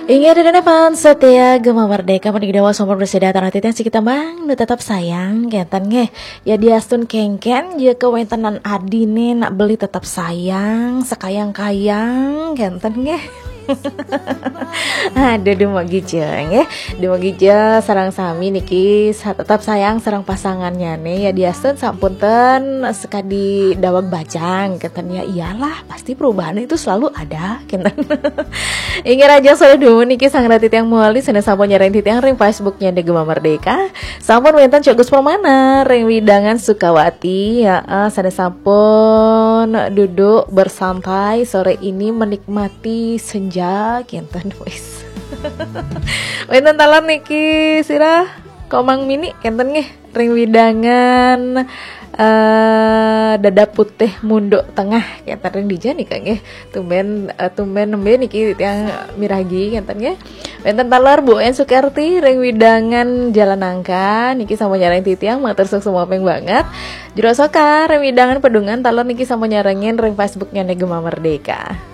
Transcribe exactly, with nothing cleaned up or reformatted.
Inggih, ida dané fans setia Gema Merdeka, mani ida dawa sampun prasida titiang sareng titiang siki tembang nu tetep sayang, kénten nggih. Yadiastun kéngkén, ya kawéntenan adine nak beli tetep sayang, sakayang-kayang, kénten nggih. Aduh, dumugi ja nggih. Dumugi ja sareng sami niki sa-, tetep sayang sareng pasangannya nih. Yadiastun sampun ten sakadi daweg bajang, kénten ya, iyalah, pasti perubahan itu selalu ada, kénten. Inggih, rancang sané dumun niki sareng titiang malih sané sampun nyarengin titiang ring Facebooknya Gema Merdeka. Sampun wénten Cok Gus Permana ring wewidangan Sukawati, ya, sané sampun duduk bersantai sore ini menikmati senja, kénten wis. Wénten taler niki sira Komang Mini, kénten nggih, ring wewidangan eh Dada Putih Munduk Tengah, kénten ring dija nika nggih. Tumben, eh, tumben nembe niki titiang miragi, kénten nggih. Wénten taler Bu En Sukerti ring wewidangan Jalan Nangka, niki sampun nyarengin titiang, matur suksma banget. Jero Soka ring wewidangan Pedungan, taler niki sampun nyarengin ring Facebooknya Gema Merdeka.